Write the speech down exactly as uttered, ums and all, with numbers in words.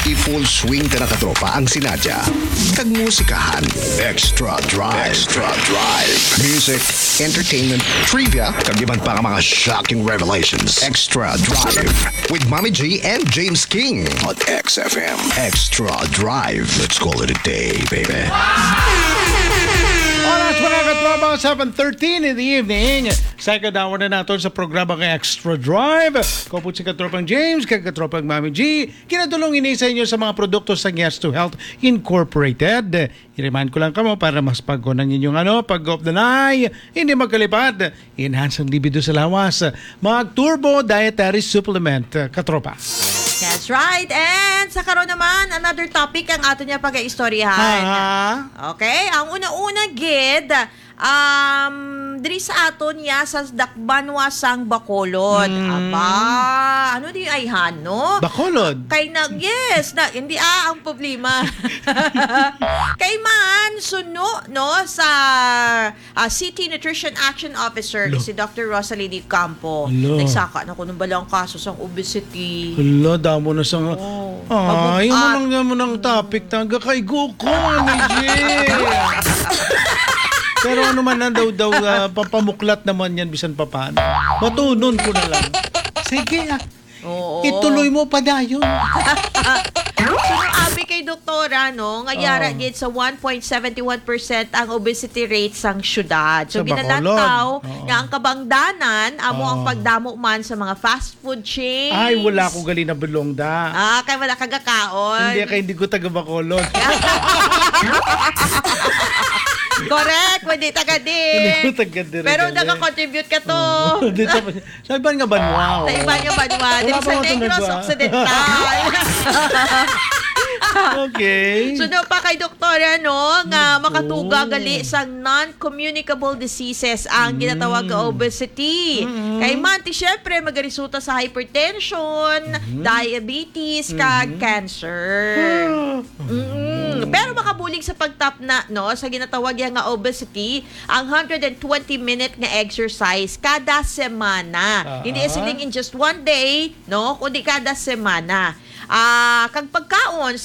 I-full swing ta na, katropa, ang sinadya kag musikahan. Extra Drive. Extra Drive. Music, entertainment, trivia, kag iban pa nga mga shocking revelations. Extra Drive with Mommy G and James King on X F M. Extra Drive. Let's call it a day, baby. Oras, mga katropa, seven thirteen in the evening. Second hour na naton sa programa nga Extra Drive. Kaupod si katropang James, kag katropang Mami G. Kinatulong ini sa inyo sa mga produkto sa Yes to Health Incorporated. I-remind ko lang kamo para mas pagko ang inyong, ano, pag-op na nay, hindi magkalipat. Enhance ang libido sa lawas. Mag Turbo Dietary Supplement, katropa. That's right. And sa karon naman, another topic ang ato niya pag-istoryahan. Ha? Okay, ang una-una gid, um, diri sa aton niya sa dakbanwa sang Bacolod. Mm. Aba, ano di ay hano? Bacolod. Kay na, yes, na, hindi, ah, ang problema. Kay man, suno, no, sa, ah, City Nutrition Action Officer, Lo. Si Doctor Rosalie Di Campo. Lo. Nagsaka na ko ng balang kaso sang obesity. Hala, damo na sa nga. Oh, Ay, mabugat. Ano lang naman ang topic? Taga kaigo ko, Mami G. Pero ano man na daw, daw, ah, papamuklat naman yan, bisan papano. Matunon ko na lang. Sige, ah. Oo. Ituloy mo pa dayon. Suno abi kay doktora, no, nga yara Oh. gid sa one point seven one percent ang obesity rate sang syudad. So, Sa Bacolod. Ginalantaw Oo. nga ang kabangdanan amo ang Oo. pagdamo man sa mga fast food chains. Ay, wala ko gali na bulong da. Ah, kay wala ka gakaon. Hindi, kay hindi ko taga Bacolod. Correct, hindi taga din. Hindi ko taga dire Pero gali. Naka-contribute ka to. Oo. Dito pa, sa iban nga banwa, Sa oo. Iban nga banwa. Wala Diri pa sa nga to Negros nagwa- Occidental. Okay. Suno pa kay doktora, no, nga Oo. makatuga gali sa non-communicable diseases ang Mm. ginatawag nga obesity. Mm-mm. Kay man, ti, syempre, magaresulta sa hypertension, Mm-hmm. diabetes, kag Mm-hmm. cancer. Ah. Mm-mm. Pero makabulig sa pagtapna, no, sa ginatawag ya nga obesity, ang hundred and twenty minute nga exercise kada semana. Ah. Hindi siling in just one day, no, kundi kada semana. Ah, kag pagkaon,